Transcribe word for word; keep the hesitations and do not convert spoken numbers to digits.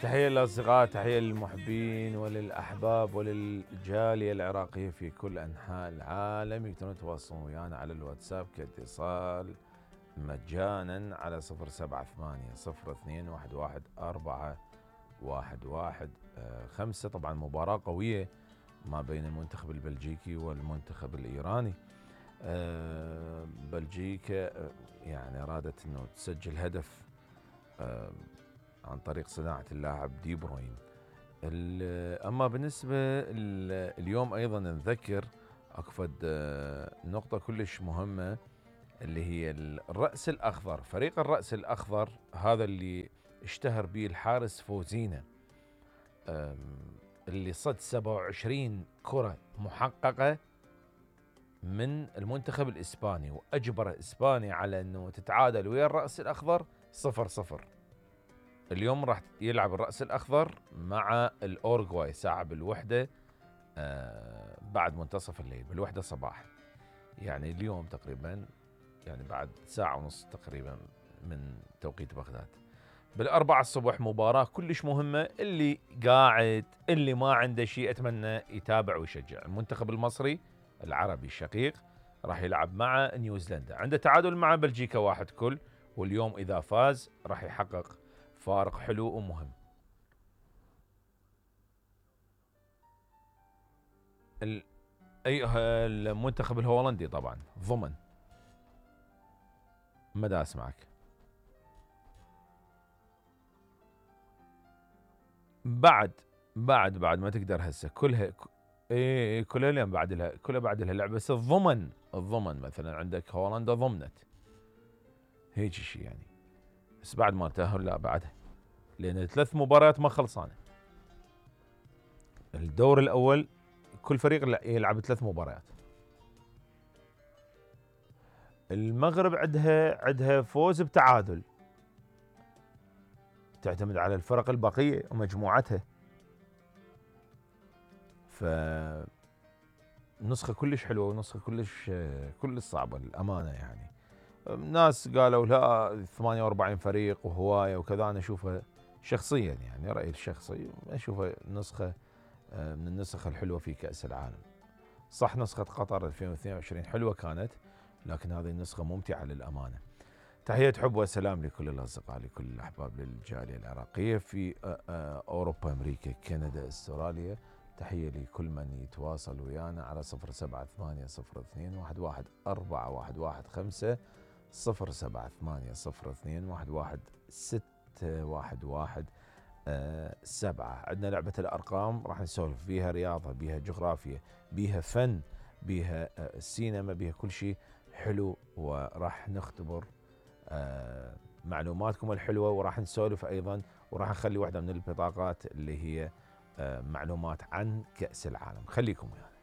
تحية للأصدقاء، تحية للمحبين وللأحباب وللجالية العراقية في كل أنحاء العالم. يقدرون يتواصلون ويانا على الواتساب كاتصال مجانا على صفر سبعة ثمانية صفر اثنين واحد واحد أربعة واحد واحد خمسة. طبعا مباراة قوية ما بين المنتخب البلجيكي والمنتخب الإيراني. بلجيكا يعني أرادت أنه تسجل هدف عن طريق صناعة اللاعب دي بروين. أما بالنسبة اليوم أيضا نذكر أكفد نقطة كلش مهمة اللي هي الرأس الأخضر. فريق الرأس الأخضر هذا اللي اشتهر به الحارس فوزينا اللي صد سبعة وعشرين كرة محققة من المنتخب الإسباني، وأجبر إسبانيا على أنه تتعادل ويا الرأس الأخضر صفر صفر. اليوم راح يلعب الرأس الأخضر مع الأورغواي ساعة بالوحدة آه بعد منتصف الليل بالوحدة صباح، يعني اليوم تقريبا يعني بعد ساعة ونص تقريبا من توقيت بغداد. بالأربعة الصبح مباراة كلش مهمة. اللي قاعد اللي ما عنده شيء أتمنى يتابع ويشجع. المنتخب المصري العربي الشقيق راح يلعب مع نيوزيلندا، عنده تعادل مع بلجيكا واحد كل، واليوم إذا فاز راح يحقق فارق حلو ومهم. ال... أي المنتخب الهولندي طبعا ضمن مدى أسمعك. بعد بعد بعد ما تقدر هسه كلها ايه كلها اليوم بعد لها كلها بعد لها لعبه، بس الضمن الضمن مثلا عندك هولندا ضمنت هيك شيء يعني، بس بعد ما تأهل لا بعدها، لان ثلاث مباريات ما خلصانه. الدور الاول كل فريق يلعب ثلاث مباريات. المغرب عندها عندها فوز بتعادل، تعتمد على الفرق البقيه ومجموعتها، ف نسخة كلش حلوة ونسخة كلش كلش صعبة للأمانة. يعني ناس قالوا لا ثمانية وأربعين فريق وهواية وكذا، أنا أشوفها شخصيا يعني رأيي الشخصي أشوفها نسخة من النسخ الحلوة في كأس العالم. صح نسخة قطر ألفين واثنين وعشرين حلوة كانت، لكن هذه النسخة ممتعة للأمانة. تحية حب وسلام لكل الأصدقاء لكل الأحباب للجالية العراقية في أوروبا أمريكا كندا أستراليا. تحية لكل من يتواصل ويانا على صفر سبعة ثمانية صفر اثنين واحد واحد أربعة واحد واحد خمسة صفر سبعة ثمانية صفر اثنين واحد واحد ستة واحد واحد أه سبعة. عندنا لعبة الأرقام راح نسولف بيها رياضة، بيها جغرافيا، بيها فن، بيها أه سينما، بيها كل شيء حلو، وراح نختبر أه معلوماتكم الحلوة، وراح نسولف أيضا، وراح نخلي واحدة من البطاقات اللي هي معلومات عن كأس العالم. خليكم ويانا.